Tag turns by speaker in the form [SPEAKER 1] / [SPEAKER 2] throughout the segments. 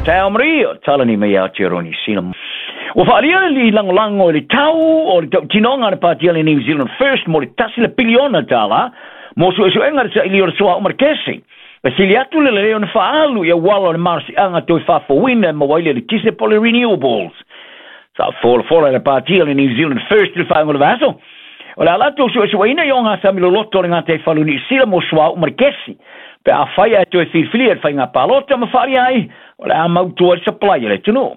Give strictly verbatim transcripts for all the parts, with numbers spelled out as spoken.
[SPEAKER 1] Tau Maria, talani mai Aotearoa Niu Sila. Ua faalia le lagolago i le tau o le tautinoga a le Pati a le New Zealand First mo le tasi le piliona tālā mo suesuega le saili o le suauu ma le kesi. E sili atu le lelei ona faaalu i auala o le malosiaga toe faafouina e maua ai le eletise po o le renewables. Sa folafola e le Pati a le New Zealand First i le faaiuga o le vaiaso. O le a latou suesueina i ogasami loloto o le gataifale o Niu Sila mo suauu ma le kesi. Pe afai ae toe filifilia i le faiga palota ma faalia ai, o le a mautu ai le supply a le atunuu.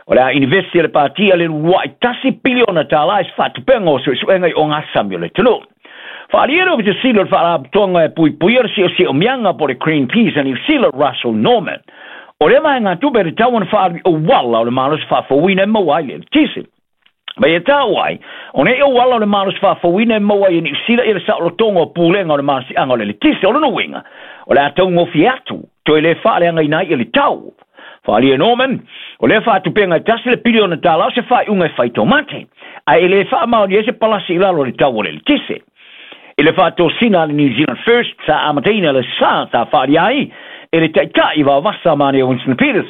[SPEAKER 1] O le a inivesi e le Pati a le uluai tasi piliona tālā i se faatupega o suesuega i ogasami o le atunuu. Faaalia le Ofisa Sili o le Faalapotopotoga e puipuia le siosiomiaga po o le Greenpeace a Niu Sila, Russell Norman. O lea vaegatupe e tatau ona faaalu i auala o le malosi faafouina e maua ai le eletise. Ma ia taua ai, o nei auala o le malosi faafouina e maua ai e Niu Sila i le saolotoga o pulega o le malosiaga o le eletise. O lona uiga, o le a taugofie atu, toe le faaleagaina ai le tau. Faaalia Norman, o lea faatupega e tasi le piliona tālā o se faaiuga e fai taumate, ae e le faamaonia ai se palasi i lalo o le tau o le eletise. I le faatosina a le New Zealand First sa amataina le sa sa faalia ai e le taitai vaovasa manaia Winston Peters.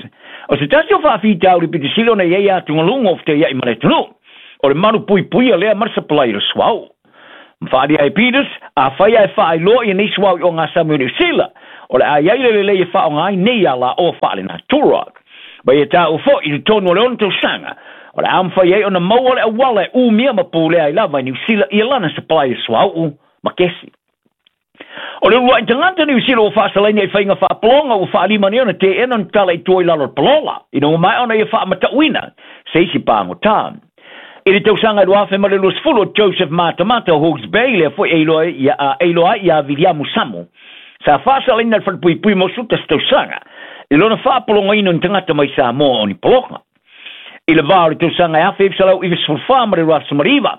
[SPEAKER 1] O se tasi o faafitauli pito sili ona i ai atugaluga o fetaiai ma le atunuu, o le malupuipuia lea ma le supply o le suauu. Ma faalia ai Peters, afai ae faailoa ia nei suauu i ogasami o Niu Sila, o le a i ai le lelei e faaaoga ai nei alaoa faalenatura. Ma ia taua foi i totonu o le ono tausaga, o le a mafai ai ona maua le auala e umia ma pulea ai lava i Niu Sila ia lana supply o suauu ma kesi. O le uluai tagata Niu Sila ua faasalaina i faiga faapologa ua faalima nei ona teena ona tatala i tua i lalo o le palola, ina ua maea ona ia faamatauina se isi pagota. I le tausaga e luafe ma le luasefulu o Joseph Matamata o Hawke's Bay, lea foi e iloa ai ia Viliamu Samu, sa faasalaina le falepuipui mo suta se tausaga i lona faapologaina o ni tagata mai Samoa o ni pologa. I le vā o le tausaga e afe iva selau iva sefulu fa ma le lua aso ma le iva,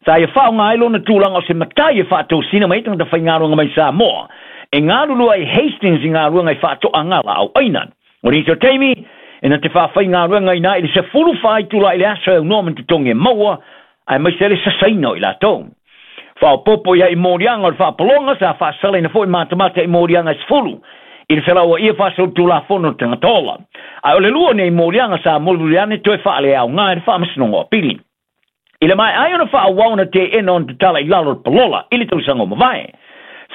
[SPEAKER 1] sa ia faaaoga ai lona tulaga o se matai e faatosina mai ai tagata faigaluega mai Samoa e galulua ai Hastings i galuega i faatoaga laau aina. O nisi o taimi, e na te faafaigaluegaina ai i le sefulu fa itula i le aso e aunoa ma ni totogi e maua, aemaise ai le sasaina o i latou. Faaopoopo i ai i moliaga o le faapologa, sa faasalaina foi matamata i moliaga e sefulu i le felauaia faasolitulafono o le tagata ola. Ae o le lua nei moliaga sa mulimuli ane toe faaleaoga e le Faamasinoga o Apili. I le maea ai ona faaauau ona teena ona tatala i lalo o le palola i le tausaga o mavae.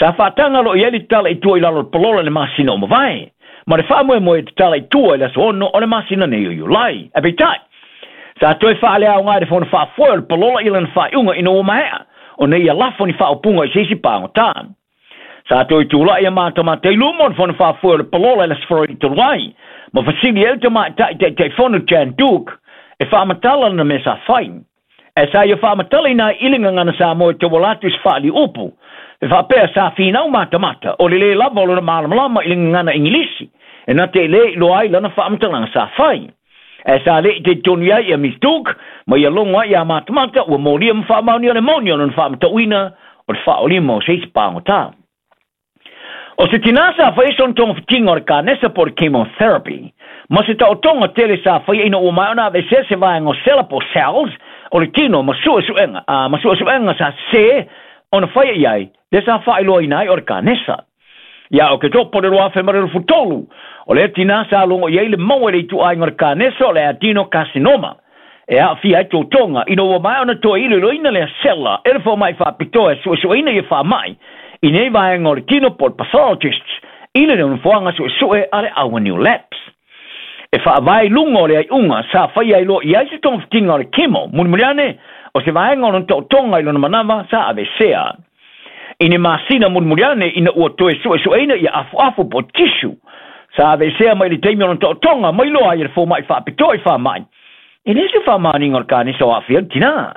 [SPEAKER 1] Sa faataga loa i ai le tatala i tua i lalo o le palola i le masina o mavae, ma le faamoemoe e tatala i tua i le aso ono o le masina nei o Iulai. Ae peitai, sa toe faaleaoga e le fono faafoe o le palola i lana faaiuga ina ua maea ona ia lafo ni faaupuga i se isi pagota. Sa toe tulai a matamata i luma o le fono faafoe o le palola i le Aso Faraile talu ai, ma fesili ai le tamaitai taitaifono Jan Duke e faamatala lana mea sa fai. Ae sa ia faamatalaina ai i le gagana Samoa e tauala atu i se faaliuupu, e faapea sa finau matamata o le lē lava o lona malamalama i le gagana Igilisi, e na te lē iloa ai lana faamatalaga sa fai. Ae sa le i talitonu i ai ia Miss Duke, ma ia logo ai ia matamata ua molia ma faamaonia le moni o lona faamatauina o le faaolima o se isi pagota. O se tinā sa faia sona togafitiga o le kanesa po o le chemotherapy, ma se taotoga tele sa faia ina ua maea ona aveesea se vaega o sela po o cells o le tino ma suesuega, a ma suesuega sa sesē ona faia i ai, lea sa faailoaina ai o le kanesa. Ia Oketopa o le lua afe ma le lufu tolu, o lea tinā sa logo i ai le maua i le ituaiga o le kanesa o le adenocarcinoma, e aafia ai totoga ina ua maea ona toe iloiloina lea sela e le fomai faapitoa e suesueina ia faamai i nei vaega o le tino po o le pathologists i le nofoaga suesue a le Our New Labs. E faavae i luga o le aiuga sa faia ai loa i ai se togafitiga o le chemo mulimuli ane o se vaega o lona taotoga i lona manava sa aveesea. I ni masina mulimuli ane ina ua toe suesueina ia afuafu po o tissue sa aveesea mai le taimi o lona taotoga mai loa ai e le fomai faapitoa i faamai. E le se faamaoniga o le kanesa o aafia le tinā.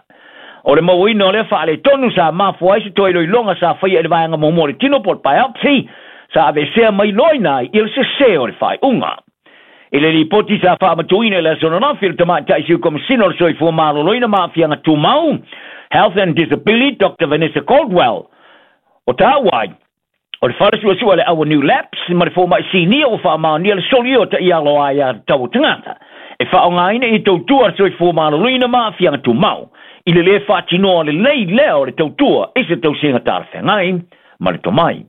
[SPEAKER 1] O le mauaina o lea faaletonu sa mafua ai se toe iloiloga sa faia i le vaega muamua o le tino po o le biopsy sa aveesea mai loaina ai i le sesē o le faaiuga. I le lipoti sa faamatuina i le aso ananafi e le tamaitai Sui Komesina o le Soifua Maloloina ma Aafiaga Tumau, Health and Disability, Doctor Vanessa Caldwell, o taua ai, o le fale suesue a le Our New Labs ma le fomai sinia ua faamaonia le solia o taiala o aiatatau o tagata e faaaogaina i tautua a le Soifua Maloloina ma Aafiaga Tumau i le lē faatinoa lelei lea o le tautua i se tausiga talafeagai ma le tomai.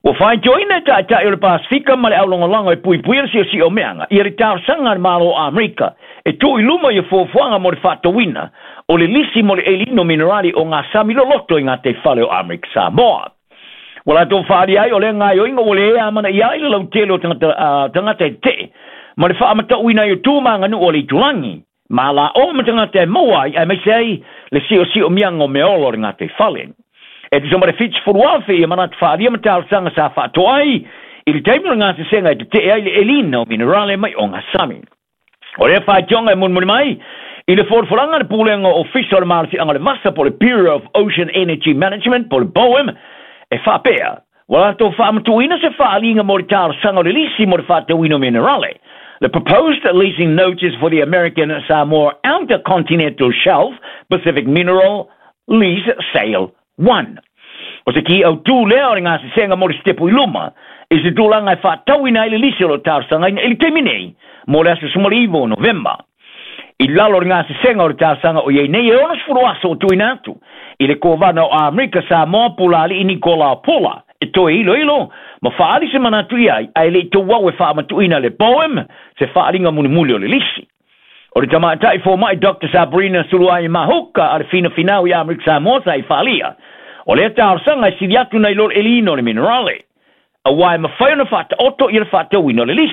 [SPEAKER 1] Ua faitioina e ta'ita'i o le Pasifika ma le aulagolago e puipuia le siosiomeaga ia le talosaga a le Malo o Amerika e tuu i luma ia fuafuaga mo le fa'atauina o le lisi mo le elina o minerale o gasami loloto i gataifale o Amerika Samoa. Ua latou fa'aalia ai o lea gaioiga ua lē amanaia ai le lautele o tagata, tagata e te'e ma le fa'amata'uina ai o tu ma aganu'u o le itulagi ma ala'o ma tagata e maua ai aemaise ai le siosiomiaga o meaola o le gataifale. E tusa ma le fitusefulu afe ia manatu fa'aalia ma talosaga sa fa'atoa ai i le taimi o le gasesega e tete'e ai le elina o minerale mai o gasami. O lea faitioga e mulimuli mai i le folafolaga le pulega o ofisa o le malosiaga o le vasa po le Bureau of Ocean Energy Management po le BOEM e faapea ua latou fa'amatu'uina se fa'aliga mo le talosaga o le lisi mo le fa'atauina o minerale. The proposed leasing notice for the American Samoa Outer Continental Shelf Pacific Mineral Lease Sale one. O se ki au tū lea o le gasesega mo le sitepu i luma i se tulaga e fa'atauina ai le lisi o lo talosagaina i le taimi nei mo le aso sefumaliiva o Novema. I lalo o le gasesega o le talosaga o iai nei e onosefulu aso o tuuina atu i le Kovana o Amerika Samoa Pulali'i Nikola Pula e toe iloilo ma fa'aali se manatu i ai ae le'i touau e fa'amatu'uina le BOEM se fa'aliga mulimuli o le lisi. O le tama'ita'i foma'i Doctor Sabrina Suluai Mahuka a le finafinau i Amerika Samoa sa i fa'alia o lea talosaga e sili atu nai lo le elina o le minerale auā e mafai ona fa'ataoto ia le fa'atauina o le lisi.